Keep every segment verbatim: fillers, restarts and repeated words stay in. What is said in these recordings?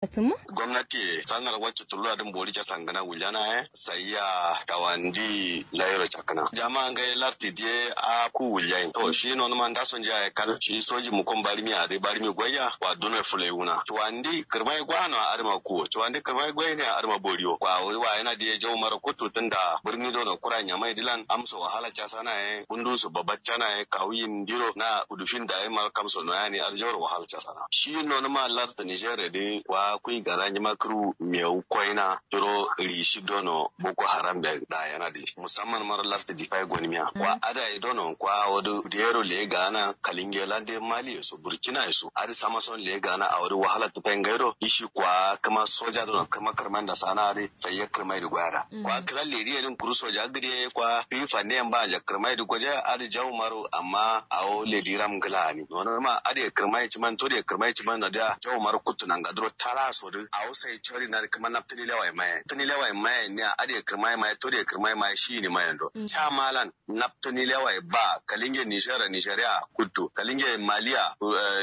Atumma? Gomnati ye sanar wacce tulura dǝn bori casangǝna wuljana ye. Sayya tawandi layiro cakkǝna jama'a ngai lartǝ diye. A ku wuljayin to shi nonuma ndaso njiya ye kal shi soji mukon barimiya dǝ barimi goiya wa duno fulai wuna cuwandi kǝrmai gwano adǝma kuwo cuwandi kǝrmai goine adǝma boriwo kwa wuri wa yana diye jaumaro kuttu tunda birni dono kura nyamai dǝlan amso wahala casana ye bundusu babaccana ye kawu yindiro na kudufin dayi maro kamso noyani adǝ jauro wahala casana. Shi nonuma lartǝ niger dǝ kwa kui gana njima kǝru mewu koina curo rishi dono boko haram be dayana dǝ musamman maro lartǝ difai gonimiya kwa adai dono kwa awo dǝ diyero leye gana kalinge lande mali ye so burkina ye so adǝ samason leye gana awo dǝ wahala tǝfai ngairo ishi kwa kǝma soja dono kǝma kǝrmai ndasana adǝ sai ye kǝrmai dǝ goyada kwa kǝla ledi ye dǝn kuru soja gǝde ye kwa kǝyi fanne yen ba nja kǝrmai dǝ goje adǝ jawu maro amma awo ledi ram ngǝla ani nonuma adǝ ye kǝrmai ciman todi ye kǝrmai ciman nadiya jawu maro kuttu nanga duro tala so dǝ awo sai cori nadi kǝma naptǝni lewai maye naptǝni lewai maye niya adǝ ye kǝrmai maye todi ye kǝrmai maye shiyini mayen do ca malan naptǝni lewai ba kalinge nishera nisheria kuttu kalinge malia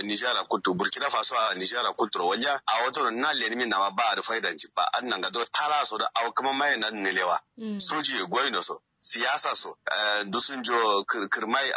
nishera kuttu burkina faso a nishera kuttu ro walja awo toro na lenimin nama ba adǝ faidanci ba adǝ nanga duro tala so dǝ awo kǝma maye nadǝ nilewa soji ye goyino so siyasa so dusun jo kǝrmai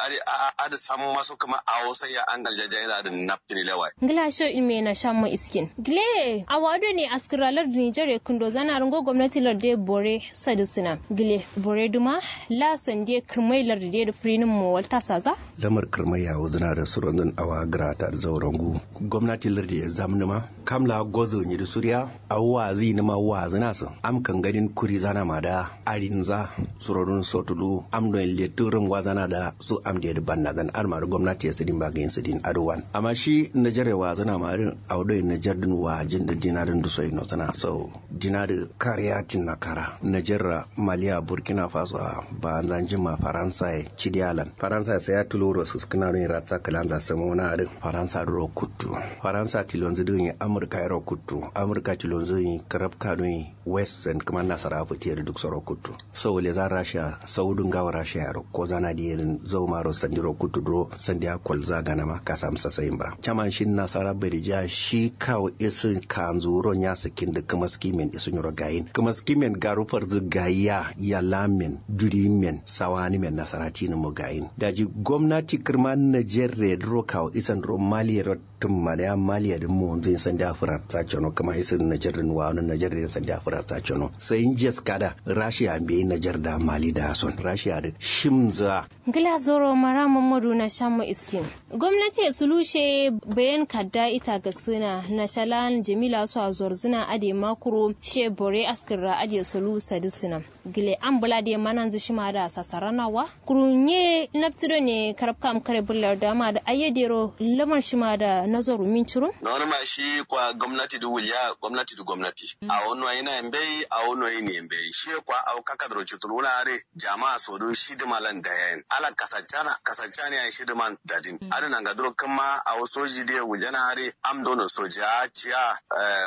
adǝ samma so kǝma awo sai ya angal jajayi na adǝ naptǝni lewai. Ngla sho ilme na shammo iskin gile awa do ne askira lardu nijar ye kǝndo zana rǝngo gomnati lardu ye bore sadǝ sǝna gile bore duma la sande kǝrmai lardu de dǝ fǝrinim mo walta saza. Lamar kǝrmai yawo zǝna dǝ suronzǝn awa gǝrata dǝ zaurangu gomnati lardu ye zamnǝma kam la gozo nyi dǝ suriya awo wazǝ yinǝma wazǝna sǝ am kangadin kuri zana ma da arinza surodun sotulu am doyin lettǝ rǝngwazana da su am diyedǝ bannazan adǝ ma dǝ gomnati ye sǝdin ba gǝyin sǝdin adǝ wan amma shi najar ye wazǝna ma dǝ awo doyin najar dǝn wajin dǝ dina dǝn dǝ soyi nozǝna so dina dǝ kariya tinna kara najar ra maliya burkina faso a banza njima faransa ye cidiya lan faransa ye sai ya tulo ro sǝskǝna doyin ratsa kǝlanza samauna adǝ faransa dǝ ro kuttu faransa tilonzǝ dǝ yin amurka ye ro kuttu amurka tilonzǝ yin karabka doyin west sen kǝma nasara fǝtiye dǝ duk soro kuttu sau leza rasha sau dǝ ngawo rasha yaro kozana diye dǝn zaumaro sandiro kuttu duro sandiya kolza ganama kasam sasayin ba caman shin nasara badijiya shi kawo isǝ kanzu wuro nya sǝkkin dǝ kǝmaski men isǝ nyiro gayin kǝmaski men garu farzǝ gayiya yalamen durimen sawanǝmen nasara tinǝmo gayin daji gomnati kǝrma najerre duro kawo isandiro mali yero tǝmma dǝ ya mali yadǝ monzǝ yin sandiya fǝratsa cono kǝma isǝ najer dǝn wano najer dǝ yin sandiya fǝratsa cono sai njes kada rashiya mbeyi najer da mali da son rashiya dǝ shimzǝ a. Ngla zoro mara mammadu na shamma iskin gomnati ye sulu she bayan kadda ita gasǝna na shalan jamila so a zorzǝna adǝ ye makuro she bore askǝrra adǝ ye sulu sadǝ sǝna gile am bǝla dǝ ye mananzǝ shima da sasarana wa kuru nye naptǝ done karabka am kare bǝllar dama da ayye dero lamar shima da nazaru min curum. Nonuma shi kwa gomnati dǝ wulya gomnati dǝ gomnati awo noyina ye mbeyi awo noyini ye mbeyi shi ye kwa awo kakadǝro cutulwuna adǝ jama'a so dǝ shidǝma lan dayayin ala kasaccana kasaccana yayi shidǝman dadin adǝ nanga duro kǝmma awo soji dǝ ye wuljana adǝ am dono soja ciya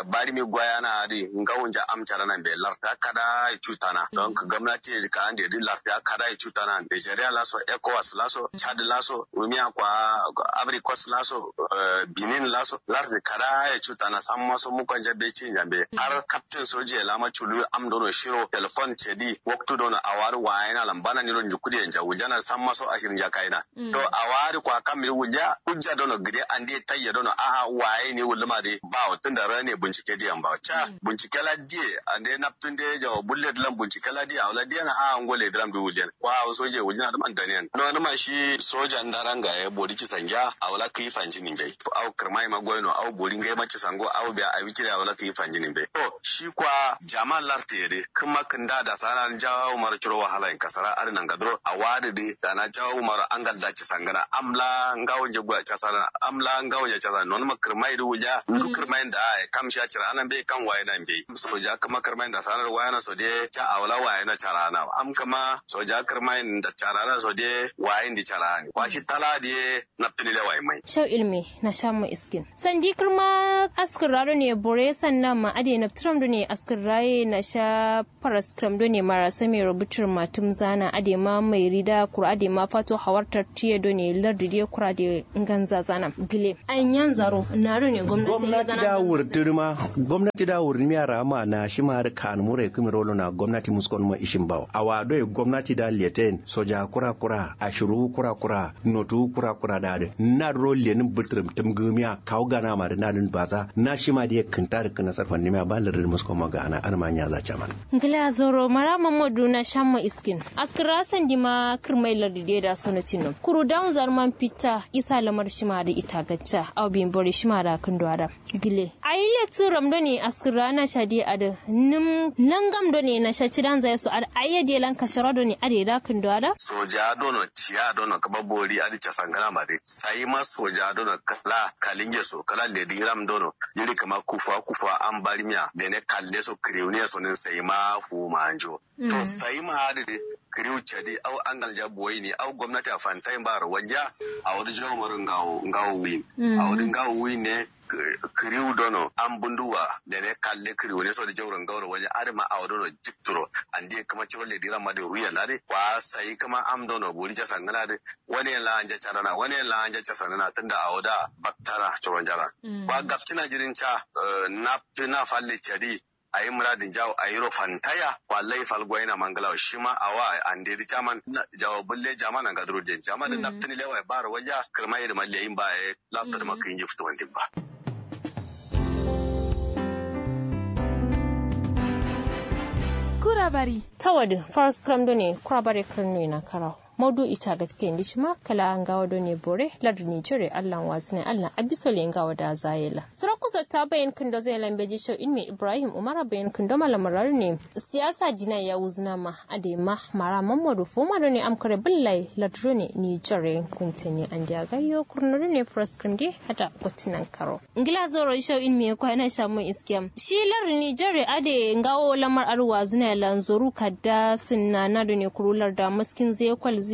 barimi gwayana adǝ ngawunja am carana mbeyi larta kada ye cutana don kǝ gomnati ye dǝ ka ande dǝ larta kada ye cutana nigeria laso ecowas laso chad laso rumiya kwa abricos laso benin laso larta kada ye cutana samma so mukonja be cinja mbeyi har captain soji ye lama culu am dono shiro telefon cedi waktu dono awa dǝ wayena lan bana niro njukudiye nja wuljana samma so ashir nja kaina to awa adǝ kwa kam dǝ wulya hujja dono gǝde ande tayya dono a'a waye ne wulluma dǝ bawo tunda rane buncike diyan bawo ca buncike la diye ande naptun de jawo bulle dǝlan buncike la diye awo la diye na a'a ngo le dǝram dǝ wulyan kwa awo soje wuljana dǝman daniyan nonuma shi soja ndaranga ye bori cisangiya awo la kǝyi fanjini mbeyi awo kǝrmai ma goyino awo bori ngai ma cisango awo biya awi kire awo la kǝyi fanjini mbeyi to shi kwa jama lartǝ ye dǝ kǝma kǝnda dasana jawo maro curo wahalayin kasara adǝ nanga duro awa adǝ dǝ dana jawo maro angal da cisangǝna am la ngawo nje goya casana am la ngawo nje casana nonuma kǝrmai dǝ wulya ndu kǝrmai nda aye kam shiya cira'ana mbeyi kam wayena mbeyi soja kǝma kǝrmai nda sanar wayena so de ca awo la wayena cara'ana am kǝma soja kǝrmai nda cara'ana so de wayin dǝ cara'ani kwa shi tala dǝ ye naptǝni lewayi mai. Shau ilmi na sha Iskin sandi kǝrma askǝrra done bore sanna ma adǝ ye nabtǝram done askǝrra ye nasha. Faraskǝram done marasa mero bǝtǝrma tǝmzana adǝ ye ma mairida kura adǝ ye ma fato hawar tartiye done lardǝ diye kura adǝ ye nganzazana. Gǝle ai nyanzaro na done gomnati gomnati da wurtǝrma gomnati da wurtǝrma rama na shima adǝ kanǝ mure kǝmiro lona gomnati muskon ma ishin bawo awa doi gomnati da leten soja kura kura ashiru kura kura notu kura kura da adǝ nadǝ ro lenin bǝtǝrǝm tǝmgǝmiya kawu gana ma dǝ nadǝn baza na shima diye kǝnta dǝ kǝnasar fannimiya ba lardǝ muskon ma gana adǝ ma nyaza caman. Ngla zoro mara mamodu na shamma iskin askǝra sandima kǝrmai lardǝ diye da sono tinno kuru dawun zarman fitta isa lamar shima dǝ ita gacca au bimbori shima da kǝndo ada. Gile ai lettǝ ram done askǝra na shadi adǝ nǝm nangam done na sha cidan zai so adǝ ai yadiye lan kashara done adǝ ye da kǝndo ada. Soja dono ciya dono kǝba bori adǝ casangana ma dǝ sai ma soja dono kala kalinge so kala lediram dono. Jiri kǝma kufa kufa an barimiya dene kalle so kǝriwuniya so nin sai ma fumanjo. To sai ma adǝ dǝ kǝriwu cadi au angalja boyi ni au gomnati a fantai mbaro walja. Awo dǝ jawo maro ngawo ngawo wuyin awo dǝ ngawo wuyin ne. Kǝriwu dono an bunduwa dene kalle kǝriwu ne so dǝ jauro ngauro walja adǝ ma awo dono jikturo. Andi ye kǝma ciro lediram ma dǝ ruya lade kwa sai kǝma am dono bori casangana dǝ wane la anja cadana wane la anja casanana tunda awo da baktana curo njalan. Kwa gapcina jirin ca naptǝ na falle cadi. Ayi muradin jawo ayiro fantaya kwa lai falgoyina mangalawo shima awa ande dǝ caman jawo bulle jamana ngaduro den jamana dǝ naptǝni lewa ye baro walja kǝrma yedǝ ma leyin ba ye. Laptǝ dǝ ma kǝyinji fǝtǝ wandin ba. Kura bari. Tawadǝ faras kǝram done kura bare kǝran noyina karawo. Maudu ita gatke ndi shima kala ngawo done bore lardǝ nigeria allan wazǝne allan abisole ngawo da zayela. Suro kusotta bayin kǝndo zailan beji shau ilmi ibrahim umara bayin kǝndo malamara done. Siyasa dina ya wuzǝna ma adai ma mara mammadu fuma done amkare bǝllai lardǝ done nigeria kuntǝni andiya gayyo kurno done faras kǝram de ada gottinan karo. Ngla zoro isho in miye kwa ina shamu iskiyam shi lar nigeria ade ngawo lamar arwa zina lanzoru kadda sinna na done kuru larda maskin zai kwalzin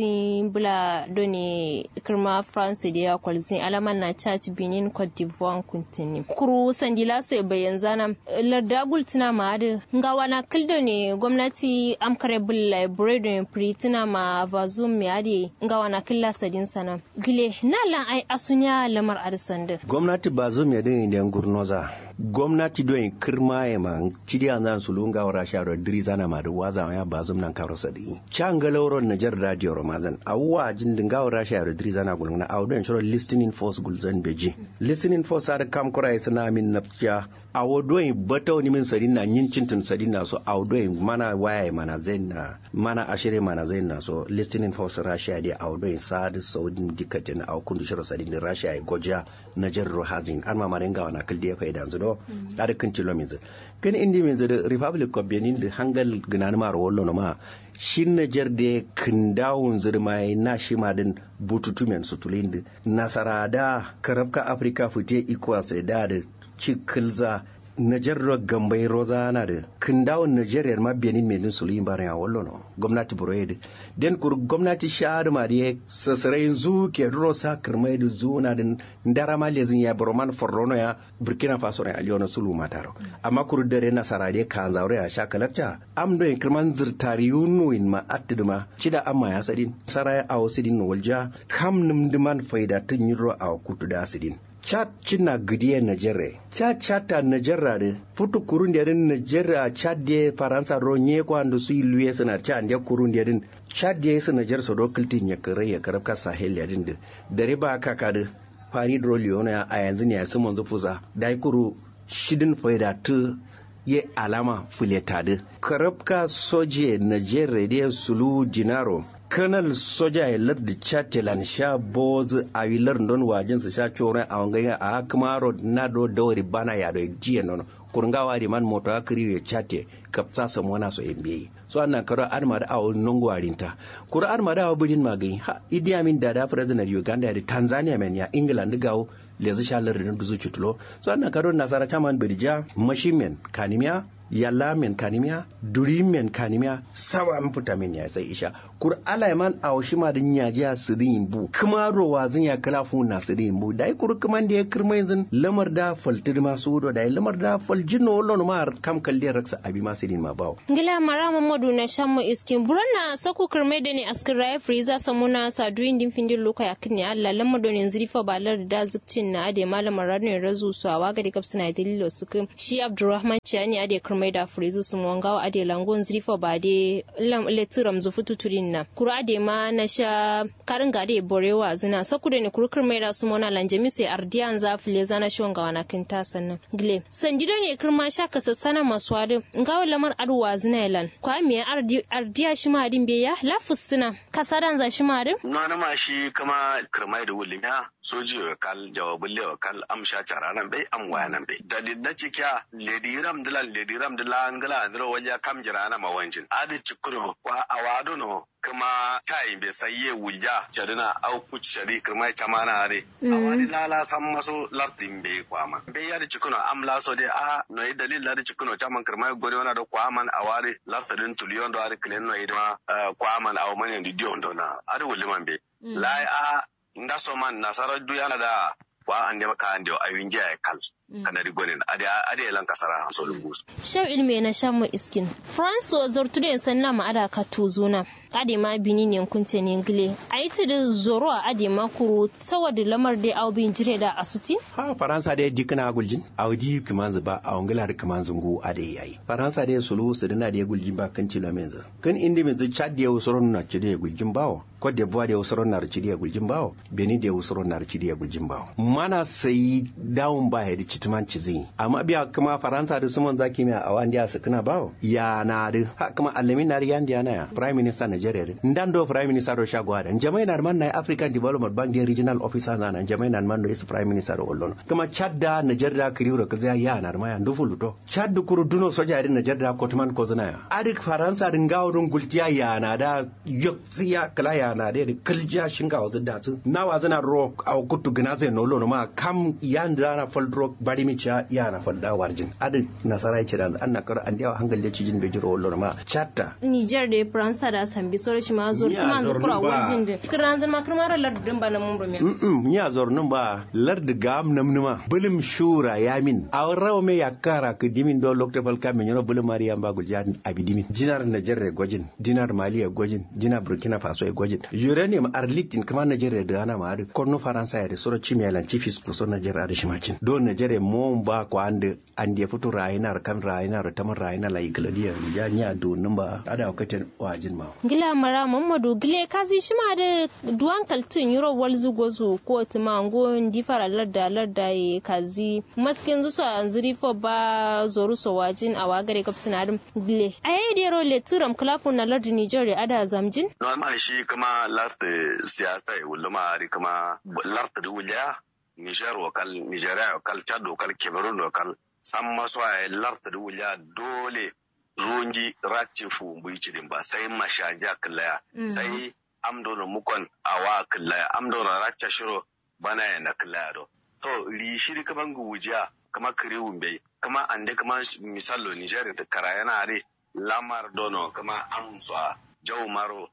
bula done kirma france de ya kwalzin alaman na chat benin cote d'ivoire kuntini kuru sandila so bayan zana. Larda gultina ma ade ngawa na kil done gwamnati amkare bulla bure done pritina ma vazum me ade ngawa na killa sadin sana. Gile na lan ai asuniya lamar adǝ sandǝ. Gomnati bazum ye dǝ inde ngurnoza. Gomnati doi kǝrma ye ma cidiya nzan sulu ngawo rasha ro dǝri zana ma dǝ waza ya bazum nan karo sadǝ. Ca ngalauro najar radio ro mazan awuwa jin dǝ ngawo rasha ro dǝri zana gulngana awo doi ciro listening force gulzan beji. Listening force adǝ kam kura ye sǝna min nafciya. Awo doi batau nimin sadinna nyin cintin sadinna so awo doi mana waya ye mana zainna. Mana ashire mana zainna so listening force rasha de awo doi sadǝ saudin dikkatin awo kundu shiro sadin dǝ rasha ye gojiya. Najar ro hazin an mamare ngawa na kǝl de faidanzǝ do. Adǝ kǝn cilo minzǝ kǝn indi minzǝ dǝ republic of benin dǝ hangal gǝnanǝma ro wallo noma. Shin najar de kǝndawunzǝ dǝ maye na shima dǝn bututumen sutulin dǝ nasara da karabka africa fite ecowas da dǝ. Ci kǝlza najar ro gambai rozana dǝ kǝndawun najar yar ma benin me dǝn suluyin barin ya wallo no. Gomnati buro ye dǝ den kuru gomnati sha dǝ ma dǝ ye sasarayin zu ke duro sa kǝrmai dǝ zuna dǝn. Ndara ma lezin ya buro man forrono ya burkina faso ro ya aliyono sulu mataro. Amma kuru dare nasara dǝ ye kanzauro ya sha kalakca am doi kǝrman zǝrtari yunuwin ma attǝ dǝ ma cida amma ya sadin sara ya awo sidin no walja. Kam nǝm dǝ man faida tǝ nyiro awo kutu da sidin. Chad cinna gǝdiye najerre. Chad chad ta najerra dǝ futu kurunde dǝn najerra chad ye faransa ro nye kwa ndu sui luye sǝna chad ye kurunde dǝn. Chad ye sǝ najer so do kǝltin ye kǝrai ye karabka sahel ye dǝn dǝ. Dare ba kaka dǝ farid ro liyono ya ayanzǝ ne ya sǝmonzǝ fuza dai kuru. Shidin faida tǝ ye alama fǝleta dǝ. Karabka soje najerre dǝ ye suluwu dinaro. Kanal sojaye lardǝ chattelan sha bowozǝ awi lardǝ ndon wajinsa sha coro ye awongai nga a'a kǝmaro nado dawari bana yado ye diyen nono. Kuru ngawo adǝ ye man moto a kǝriwu ye chatte kapsa samona so ye mbeyi. So adǝ nankaro adǝ ma dǝ awo nongo arinta. Kuru adǝ ma dǝ awo bǝdin ma gǝyi ha idi amin dada president uganda ye dǝ tanzania men ya england dǝ gawo. Lezǝ sha lardǝ dǝn duzǝ cutulo. So adǝ nankaro nasara caman bǝdija mashin men kanimiya. Yalla men kanimiya, duri men kanimiya, sawa mputa men ya sai isha. Kuru alai man awo shima dǝ nyajiya sǝdǝ yimbu kǝma ro wazǝn ya kǝla fuwun na sǝdǝ yimbu dayi kuru kǝman dǝ ye kǝrma yinzǝn lamar da faltǝ dǝ ma suwu do dayi lamar da faljin no wallo no ma har kam kalde raksa abi ma sǝdǝ yin ma bawo. Ngla mara muhammadu na shammo iskin buron na saku kǝrmai done askǝ raye fǝriza samuna sa duyin din findin luko yakkǝn ne allah lamar done nzǝri fo ba lar da zǝkcin na ade malamar radon razu so awa gade gabsǝna dalilo sǝkǝ shi abdurrahman ciyani ade kǝrmai da fǝriza sumo ngawo ade lango nzǝri fo ba de lam letǝ ramzǝ futu turin na kuru ade ma na sha karin gade bore wazǝna saku done kuru kǝrmai da sumo na lanjami so ye ardiya nza fǝleza na sho ngawo na kǝnta sannan. Gile sandi done kǝrma sha kasassana masuwa dǝ ngawo lamar adǝ wazǝna ye lan kwa miya ardiya shima adǝ mbeya la fǝssǝna kasadanza shima adǝ. Nonǝma shi kǝma kǝrmai dǝ wullimiya soji yo kal jawabulle yo kal am sha caranan bai am wayanan bai dalil na cikiya lediram dǝlan lediram dǝlan ngla andiro walja kam jirana ma wanjin adǝ cikkuro kwa awa dono kǝma tayi mbe sai ye wulja cadǝna au kuci cadi kǝrma ye camana adǝ. Awa dǝ lala samma so lartǝ mbe kwaman mbe ya dǝ cikkǝno am la so dǝ a noyi dalil la dǝ cikkǝno caman kǝrma ye gone wana do kwaman awa dǝ lartǝ dǝn tuluyon do adǝ kǝlen noyi dǝma kwaman awo mane ndi diyon do na adǝ wulliman mbe. Lai a ndaso man nasara duyana da wa ande ma ka ande awi ngiya ye kal kanadi gonen ade ade lan kasara so lungu. Shau ilme na shammo iskin france wa zortude sanna ma ada katuzuna. Ade ma bini ne kunce ne ngile ayi tudu zoro a ade ma kuru sawa da lamar de au bin jire da asutin. Ha faransa de dikna guljin au di kimanzu ba au ngila da kimanzu ngu ade yayi faransa de sulu suduna de guljin ba kan tilo menzu kan indi menzu chad de usoro nuna chide guljin bawo. Kot de buwa de usoro nar chide guljin bawo. Beni de usoro nar chide guljin bawo mana sai dawun ba hedi chitman chizi amma biya kama faransa da suman zaki me awa ndi asukuna bawo. Ya na da ha kama alamin nar yandi yana ya prime minister nigeria da ndan do prime minister do shago da njamai nar man na african development bank de regional officer na na njamai nar man do is prime minister do ollono kama chad da nigeria da kiriu ro kaza ya nar ma ya ndu fuluto. Chad kuru duno soja din nigeria da kotman kozuna ya adik faransa din gawo dun gultiya ya na da yok siya kala ya na da kǝljiya shinga wazǝ da su na wazǝ na ro au kuttu gǝna zai no lono ma kam yan da na fal duro bari mi ciya ya na fal da warjin adǝ nasara ya ce da an na karo an da yawa hangal da cijin bai jiro lono ma chatta. Niger da faransa da sambi soro shi ma zor kuma zor kura warjin da kǝran zan ma kǝrma ro lardin ba na mumrumiya. Mm ni a zor nun ba lardi gam namnuma bǝlǝm shura yamin a rawa me yakkara kǝ dimin do lokta falka me nyiro bǝlǝm mari yamba gulja abi dimin jinar niger re gojin. Dinar mali ye gojin dinar burkina faso ye gojin. Uranium arlittin kǝma nigeria dǝ ana ma adǝ konnu faransa ye dǝ suro cimi ye lan cifis kuso nigeria adǝ shima cin do nigeria mowon ba ko andǝ. Ande futu rayinar kam rayinar taman rayinar la ikǝladiya ya nya duwunnum ba adǝ awo katen wajin ma. Ngla mara muhammadu gǝle kazi shima adǝ duwan kaltǝ nyiro walzǝ gozu kotǝ ma ngo ndi fara larda larda ye kazi maskinzǝ so anzǝ rifo ba zoru so wajin awa gare gabsǝna dǝm. Gǝle ayai dero letǝ ram kǝla funna lardǝ niger ye ada zamjin. Noma shi kǝma lartǝ siyasa ye wulluma adǝ kǝma lartǝ dǝ wulya. Niger wo kal nigeria wo kal chad wo kal cameroon wo kal samma so yayi lartǝ dǝ wulya dole. Runji racci fuwumbu yi cidin ba sai mashanjiya kǝllaya sai am dono mukon awa kǝllaya am dono racca shiro banaye na kǝllaya do. To rishi dǝ kǝma ngǝwujiya kǝma kǝriwu mbeyi kǝma ande kǝma misallo niger dǝ karayena adǝ lamar dono kǝma am so a jau maro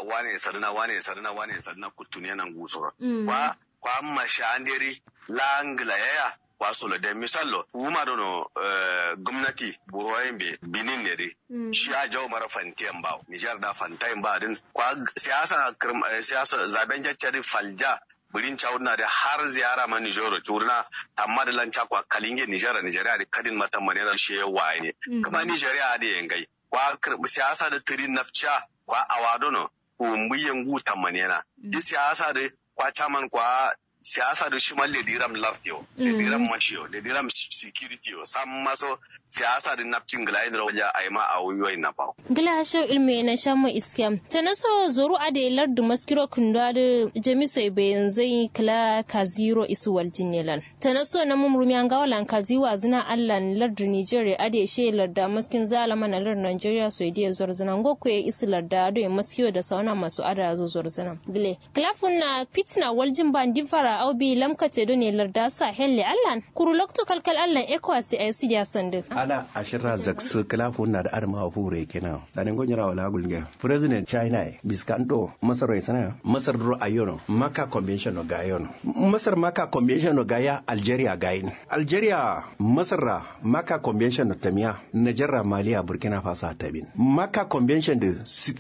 wane sadǝna wane sadǝna wane sadǝna kuttunena ngusoro kwa kwa masha ande dǝ la ngǝlayaya. Kwa solo de misallo wuma dono gomnati buroyen be binin ne dǝ shiya jau mara fantiyen bawo niger da fantayin ba dǝn kwa siyasa siyasa zaben jacca dǝ falja. Bǝrin cawudǝna dǝ har ziyara ma niger ro cudǝna tamma dǝ lan cakwa kalinge niger nigeria dǝ kadin ma tamma nera shiye waye ne kǝma nigeria adǝ ye ngai kwa siyasa dǝ tǝri napciya kwa awa dono kuwumbuye ngu tammanena. Dǝ siyasa dǝ kwa chaman kwa siyasa dǝ shima lediram lartiyo lediram mashiyo lediram security yo samma so siyasa dǝ napcin gǝlayin dǝ ro walja aima awo yoyin na bawo. Gǝla shau ilmu ye na shamma iskiyam tana so zoru adǝ ye lardu maskiro kǝndo adǝ jami so ye bayanzai kǝla kaziro isu waljin ne lan. Tana so namum rumiya ngawo lan kazi wazǝna allan lardu niger ye adǝ ye she larda maskin zalama na lardu nigeria so ye diye zorzǝna ngo kuye isu larda adǝ ye maskiyo da sauna maso adǝ azo zorzǝna. Gǝle kǝla funna fitina waljin ba ndi fara Au bi lamkate done larda sahel ye allan kuru loktu kalkal allan ecowas ye ayi sidiya sandu. Ala ashirra zaksu kǝla fuwunna dǝ adǝma wa fuwure kena. Dane ngo nyira wala gulge president china ye biskanto masar ro ye sǝna. Masar duro ayyono maka convention no gayono. Masar maka convention no gaya algeria gayin. Algeria masar ra maka convention no tamiya. Najarra maliya burkina faso a tamin maka convention dǝ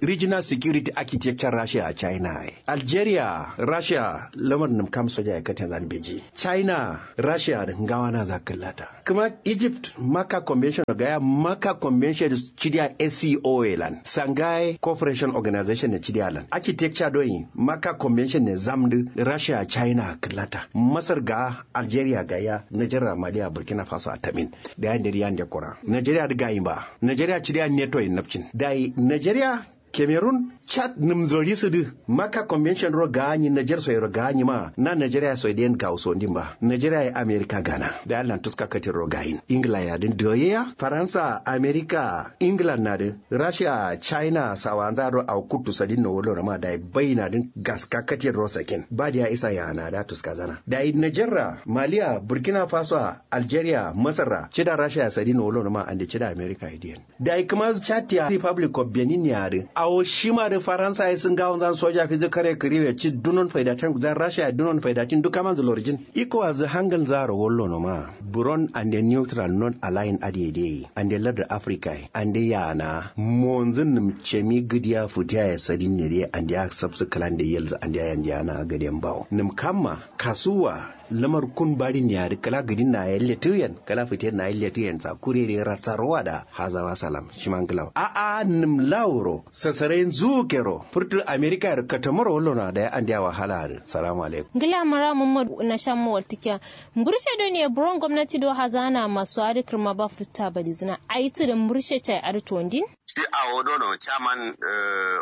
regional security architecture russia a china ye. Algeria russia lamar nǝm kam soja ye katen zan beji. China russia dǝ ngawa naza kǝllata. Kǝma egypt maka convention gaya maka convention cidiya sco ye lan sangaye cooperation organization ne cidiya lan architecture doyi maka convention ne zamdǝ. Russia china kǝllata masar ga algeria gaya najarra maliya burkina faso a tamin. Dayi nderi yande kura nigeria dǝ gayi mba. Nigeria cidiya neto ye nabcin dayi nigeria cameroon chad nǝmzori sǝdǝ. Maka convention ro gaanyi niger so yero gaanyi ma na nigeria so ye diyen gawo sondin ba nigeria ye america gana. Dayi allan tuska katin ro gayin england ya dǝn doyeya faransa america england na dǝ russia china sawanza ro awo kuttu sadin no wullono ma dayi baina dǝn gaska katin ro sakin ba diya isa yana da tuska zana dayi niger ra maliya burkina faso a algeria masar ra cida russia sadin no wullono ma ande cida america ye diyen. Dayi kǝma chad ya republic of benin ya dǝ awo shima dǝ faransa ye sǝ ngawonzan soja fizǝ kare kǝriwe ci dunon faidatin zan russia ye dunon faidatin duk kamanzǝ lorjin. Ecowas dǝ hangalnza ro wullono ma buron ande neutral non alliance adǝ ye dǝ ye ande lardǝ africa ye ande yana monzǝ nǝm cemi gǝdiya fǝtiya ye sadin ne dǝ ye ande ya sabsǝ kǝlande yelzǝ ande ya yande yana gǝdiyen bawo nǝm kamma kasuwa. Lamar kun barin ya dǝ kǝla gǝdin na ye letuyen kǝla fǝtiyen na ye letuyen sa kure dǝ ye ratsa rowa da hazawa salam shima ngǝlawo a'a nǝm laworo. Sasarai nzukero furtu america yero katamaro wullono a dayi andeya wahala adǝ salamu alaikum. Ngla mara muhammad nasha mowaltikiya mburshe done buron gomnati do hazana masu adǝ kǝrma ba futta badizǝna ayi tǝdǝ mburshe cayi adǝ tondin. Shi awo dono chairman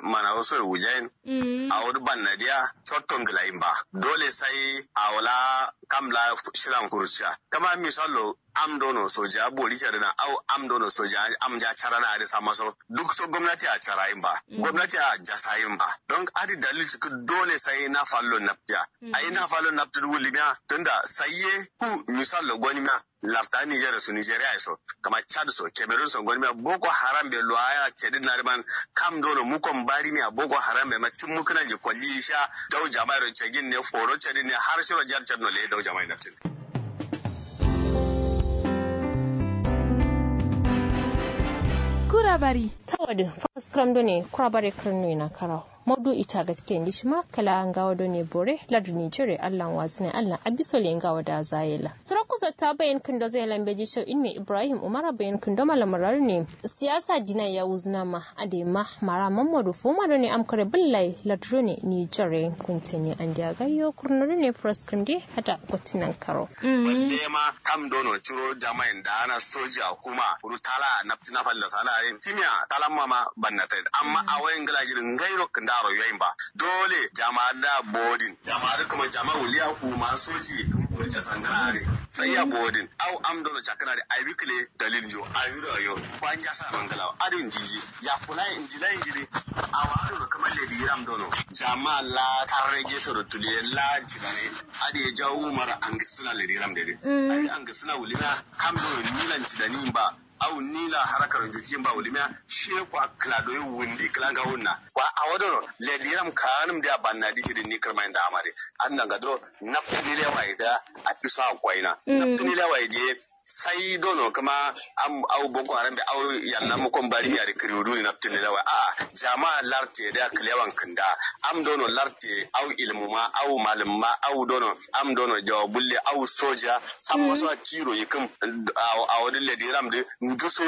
manawo soye wujayin. Awo dǝ bannadiya cotto nglayin ba dole sai awo la kam la shilan kuruciya kǝma misallo am dono soja bori cari na au am dono soja am ja cara na adǝ samma so duk so gomnati a carayin ba gomnati a jasayin ba. Don adǝ dalil cikkǝ dole sai na fallo naptiya ayi na fallo naptǝ dǝ wulimiya tunda sai ye ku misallo gonimiya. Larta nigeria so nigeria ye so kǝma chad so cameroon so gonimiya boko haram be luwaya cedin na dǝ man kam dono mukon barimiya boko haram be ma timmu kǝnanji kolli sha dau jamai ro cegin ne foro cedin ne har shiro jar cedno leye dau jamai naftin. Kura bari. Tawadǝ faras kǝram done kura bare kǝran noyi na karawo. Maudu ita gatke ndi shima kǝla ngawo done bore lardǝ nigeria allan wazǝne allan abiso le ngawo da zayela. Suro kuso ta bayan kǝndo zai lambeji shau ilmi ibrahim umara bayan kǝndo malamara done siyasa dina ya wuzǝna ma adai ma mara mammadu fuma done amkare bǝllai lardǝ done nigeria kunteni andiya gayyo kurno done faras kǝram de hada gotinan karo. Balle ma kam dono ciro jamain da ana soja kuma kuru tala nafti na falla sana yin timiya talamma ma bannatai amma a wayin gila jirin gairo kandaro yoyin ba. Dole jama'a da bodin jama'a da kuma jama'a wuliya kuma soji kuma kurce sandana are. Sai ya bodin au am dono cakana da ai wikile dalil jo ai wiro yo kwanja sa mangala adin jiji ya kula injila injili. Awa dono kuma ledi ram dono jama'a la tarrege soro tuliye la cidane. Adi ye jawu mara angisina lediram dede. Adi angisina wulina kam do nilan cidani ba. Au nila harakaro njirjin ba wulimiya. Shiye kwa kla doyi wundi kla nga wunna kwa awo dono lediram kanum dia banna di cidin ni kirma inda amade. Adna nga duro naptini lewa ida. Apiso akwaina naptini lewa idiye. Sai dono kǝma am au boko haram be au yalla mukon bari mi adi kǝriwu duni naptǝnne da wai a'a jama'a larte da kǝlewan kǝnda. Am dono larte au ilmu ma au malǝm ma au dono am dono jawabulle au soja. Samma so a tiro yikǝm. Awo dǝ lediram dǝ nduso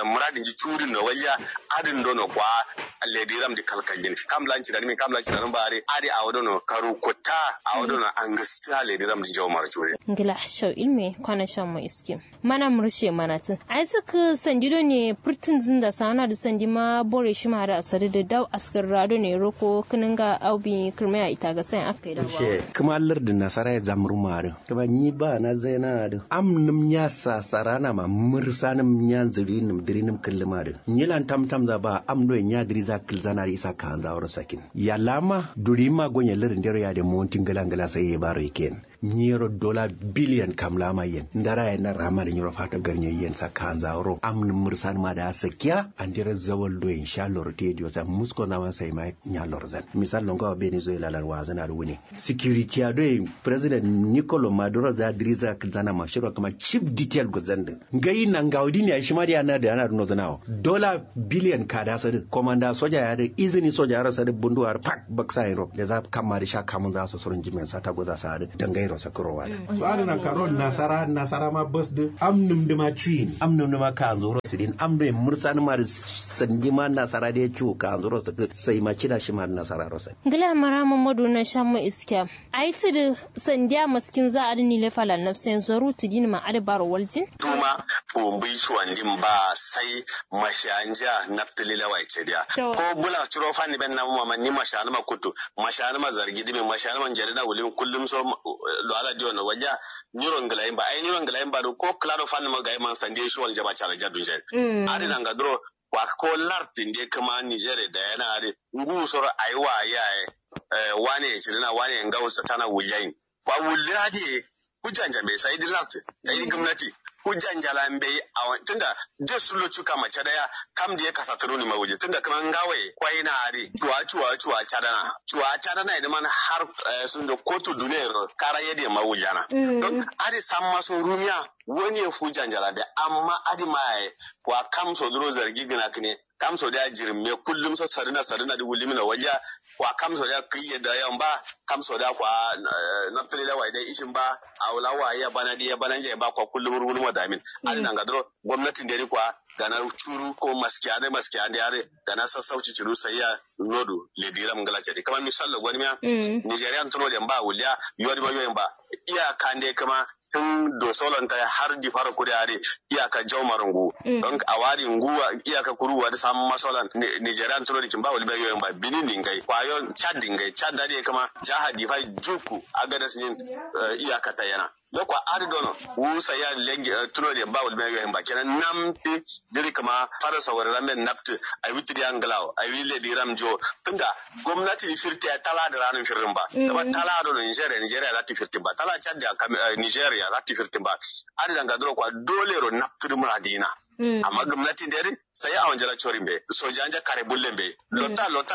muradin ji curin no walja. Adǝn dono kwa lediram dǝ kalkaljin kam lanci da nimin kam lanci da nimin ba adi adi awo dono karu kutta. Awo dono angǝsta lediram dǝ jawo mara curin. Ngla shau ilme kwana shan mo iske. Mana murushe manatǝ ai sǝkkǝ sandi done fǝrtǝnzǝ nda sa'ana dǝ sandi ma bore shima dǝ asarǝ dǝ daw askǝrra done roko kǝnǝnga au bi kǝrmai ya itaga sayin akkai daw. Kǝma lardǝ nasara ye zamruma dǝ kǝma nyi ba na zaina dǝ am nǝm nya sasarana ma mǝrsanǝm nya nzǝrinǝm dǝrinǝm kǝllǝma dǝ nyi lan tamtamza ba am done nya dǝriza kǝlzana dǝ isa kaanza wuro sakin yallama durimma gonye lardǝ ndero yade monti ngǝla ngǝla sai ye baro iken. Nyiro dola biliyan kamlama yen ndara yen na rama da nyiro fato garnye yen sa kanza wuro am nǝm mǝrsan ma da sakiya andero zawal do insha Allah rote diyo sa musko na man sai ma nya lorzan misal longa wa beni zo ilalar wazan ar wune security a do president Nicolo Maduro za diriza zana ma shiro kuma chief detail gozan din ngai na ngaudi ne shi ma da yana da yana runo zana wa dola biliyan kada sadu komanda soja ya da izini soja ya da sadu bunduwar pak baksa yin ro da za kamma da sha kamun za su surun jimen sata goza sa da dangai ro sakuro wa da. So adǝ nankaro nasara nasara ma bas dǝ am nǝmdǝ ma cuyin am nǝmdǝ ma kaanzuro sǝdin am doi mǝrsanǝ ma dǝ sandi ma nasara dǝ ye cu kaanzuro sǝkǝ sai ma cida shima dǝ nasara ro sai. Ngla mara mamadu na shamma iskiya ai tǝdǝ sandiya maskinza adǝ nile fala nafsen zoru tǝdin ma adǝ baro waljin. Duma fumbui cuwandin ba sai mashanja naftǝ lile wai cediya. Ko bula curo fanni ben namu mama ni mashanǝma kuttu mashanǝma zargi dǝmin mashanǝma njedǝna wulimin kullum so. Lo ala diyo no walja nyiro nglayin ba ai nyiro nglayin ba do ko klado fanni ma gayi man sande shi wal jaba chala jadu nje. Ari nanga duro wa ko lartin de kuma nijere da yana ari ngu soro ai wa yaye. Wane chirina wane ngau satana wulyayin. Kwa wulya de hujja nja mbe sai di lartin sai di gumnati hujja nja la mbe. Awan tunda de sulo chuka macha daya kam de kasa tununi ma wulya tunda kuma ngawe kwai na ari chuwa chuwa chuwa chadana chuwa chadana idan man har sun da kotu duniya ro kara yadda ma wulyana. Don ari samma so rumiya wani ya fuja njalande amma adi maye. Kwa kamso duro zargi gina kine kamso da jirim me kullum so sarina sarina di wulimina walya. Kwa kamso da kiye da yan ba kamso da kwa naptali da waide ishin ba. Awla wa ya bana di ya bana ya ba kwa kullum ruwul mo damin. Adi nanga duro gwamnatin da kwa gana churu ko maskiya da maskiya da are gana sassauci churu sai ya nodu le diram ngala chadi kama misallo gwani miya. Nigerian tuno da ba wuliya yodi ma yoyin ba iya kande kama tun dosolonta har difaro kuri adi iyaka jaumarungu. Don awari nguwa iyaka kuruwa da samun masolan nigerian tuno da kimba wali bai yoyin ba bini ningai kwayo chad dingai chad da da kama jaha difai juku agadas nin. Iyaka ta yana lokwa adi dono wusa ya lengi tuno da ba wali bai yoyin ba kenan nam ti diri kama fara sawari ramen napti ai witiri anglawo ai wile diram jo tunda gwamnati ni firti ya tala da ranin firin ba. Kama tala do nigeria nigeria za ta firtin ba tala chad ya nigeria za ta firtin ba. Adi danga duro kwa dole ro naptiri mura dina. Amma gwamnati nderi sai a wanjala chorin be soja anja kare bulle be lota lota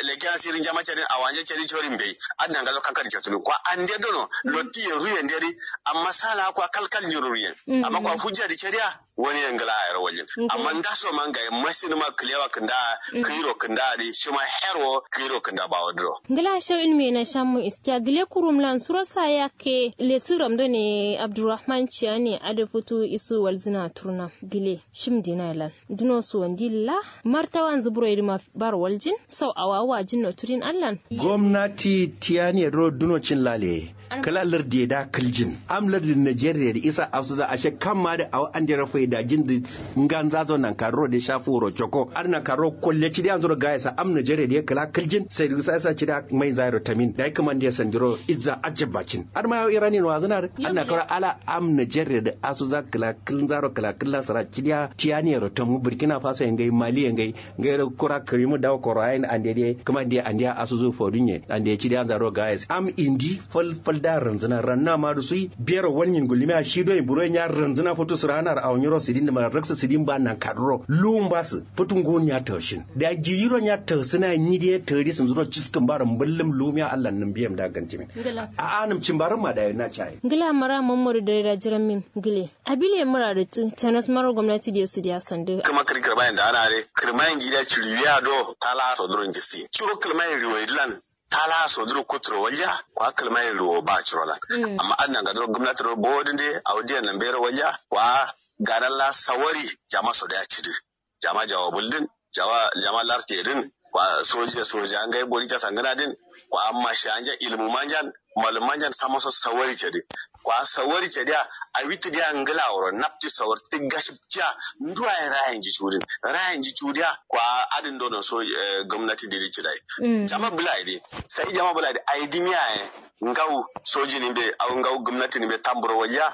leke asiri njama chari a wanje chari chorin be. Adi danga zo kankari chatulu kwa ande dono loti ye ruye nderi. Amma sala kwa kalkal nyuru ruye amma kwa hujja di chariya wani yangla a yaro wajin. Amma ndaso ma ngaye mashin ma kilewa kinda kiro kinda di shima herwo kiro kinda bawo duro. Ngla shau ilmi na shammu iskiya gile kurum lan suro sa yakke letiram done abdurrahman ciyane ada futu isu walzina turna gile shim dina lan duno suwandi la martawan zuburo idima bar waljin sau awawa jinno turin allan. Gwamnati tiyani duro duno cin lale kala lardi da kiljin am lardi nigeria da isa asuza ashe kamma da awo andero faidajin da nganza zo nankarro da sha furo choko adǝ nankarro kolle cidi anzuro gayesa am nigeria da kala kiljin sai da isa cida mai zairo tamin da kǝman da sandiro izza ajabacin adǝ ma yawo iranian wazǝna adǝ nankarro ala am nigeria da asuza kala kilzaro kala killa sara cidiya tiyani yero tamu burkina faso ye ngai mali ye ngai ngairo kura kǝrimu dawo koro ayin ande de kǝma nde andeya asuzu fodunye ande cidi anzaro gayes am indi fal fal da ranzǝna ranna ma dusui bero walnyin gullimiya shi doyin buroyin ya ranzǝna futu sǝranar awo nyiro sidin dǝma raksǝ sidin ba nankaduro luwun basǝ futu ngun ya taushin da jiyiron ya tausina nyi de tauri sǝnzuro ciskǝn baro mbǝllǝm lumiya allah nǝm biyam da gantimin. A'a nǝm cimbarǝn ma da yo na caye. Ngla mara mammadu dare da jiran min gile abile mura da tǝ tanas maro gwamnati de sǝdiya sandǝ. Kǝma kǝri kǝrma yin da ana are kǝrma yin gida ciriwiya do tala so duro njisi ciro kǝrma yin riwai dilan tala so duro kuturo walya kwa kǝrma yin riwo ba ciro lan. Amma adǝ nanga duro gwamnati ro bowodin de awo diyan nan bero walya kwa ganan la sawari jama so da ya cidi jama jawa buldin jama jama larte din kwa soja soja ngai bori ca sangana din kwa amma shi anja ilmu manjan malum manjan sama so sawari cedi. Kwa sawari cediya, awi tidiya ngla woro napti sawar tigga shiptiya. Nduwa ye rayin ji cudin, rayin ji cudiya kwa adin dono so. Gomnati diri cidai jama bula idi. Sai jama bula idi aidimiya ye ngawu soji nimbe au ngawu gomnati nimbe tamburo wajiya.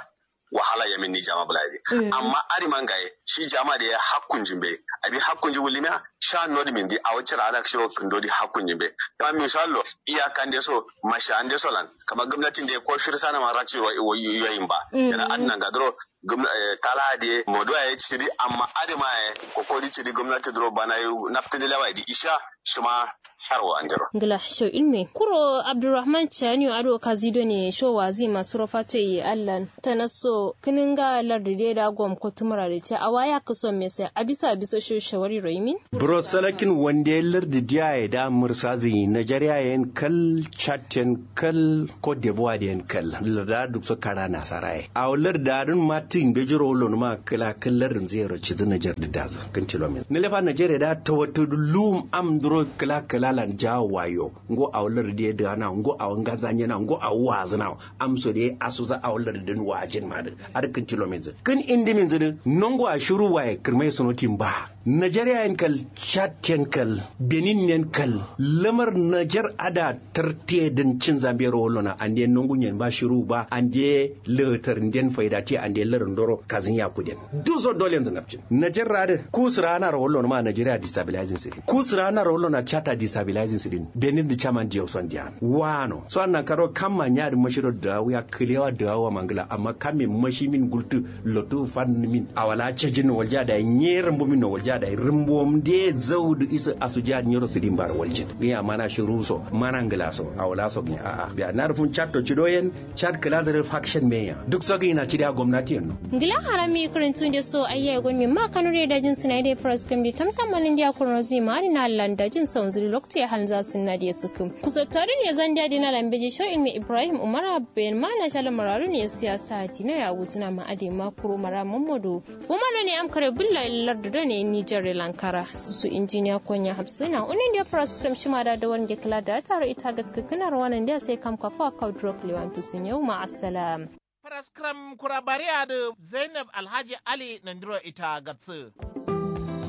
Wahala yamin ni jama bula idi. Amma adima ngaye shi jama de hakkun jimbe. Abi hakkun ji wulimiya sha nodi min di awo cira adak shiro kindo di hakkun jimbe. Kama misallo iya kande so masha ande so lan kama gomnati de ko shir sana ma raci ro yoyin ba. Yana adina ngadro gomna tala de moduwa ye ciri amma adima ye kokori ciri gomnati duro bana yu naptini lewa idi isha. Shima harwa andiro. Ngla sho ilme kuro abdurrahman chaniyo ado kazido ne sho wazi masu rofato yi allan tanasso kininga lardi de da gom ko tumura de te awa ya kiso mese abisa abisa sho shawari roimin. Bro salakin wande lardi diya ya da mursazi najeriya yen kal chat yen kal ko debuwa de yen kal larda duk so kara nasara ye awo larda dun matin bejiro lon ma kala kal lardin zero cizi najer da dazu. Kin tilomin nilefa najeriya da tawattu lum am duro kala kala lan jawo wayo. Ngo awo lardi ye dana ngo awo ngaza nyena ngo awo wazina. Amso de asuza awo lardi din wajin ma din. Ar kin tilomin zin kin indi min zin nongo a shuru waye kirmai sunotin ba. Najeriya yen kal chat yen kal benin yen kal lamar najer ada tartiye din cin zambe ro wallona ande nongu nyen ba shiru ba ande latar nden faida ti ande larin doro kazin ya kuden. Duso dole yanzu napcin najer rade kusura ana ro wallona ma najeriya destabilizing sidin kusura ana ro wallona chata destabilizing sidin benin di chaman diyo son diyan wano so annan karo kamma nya di mashiro da wuya kilewa da wa mangila amma kamme mashi min gultu lotu fan min awala cejin no walja da nye rumbu min no walja da rumbu mde zaudu isa asuja nyoro sidin bar waljin. Giya mana shiru so mana ngila so awala so giya a'a biya na rufun chat to cido yen chat kala zare faction meya duk so giya na cidiya gwamnati yen no. Ngila harami kurin tunde so ayya gon mi ma kanure da jin sinai de pras kam di tamtam malin dia kurno zi ma na landa jin so nzuri lokti hal za sinna de sukum. Kusottaru ne zan dia dina lambeji sho imi ibrahim umara ben ma na shala mararu ne siyasa dina ya wuzina ma ade ma kuro mara mamadu. Umar ne am kare bulla lardu do ne nijar lankara susu injiniya konya hafsina unin da fara sukram shima da dawar nge kala da taro ita gat kakana rawanan da sai kam kafa kau drok lewan tusun yau ma assalam. Fara sukram kura bariya da zainab alhaji ali nandiro ita gatsu.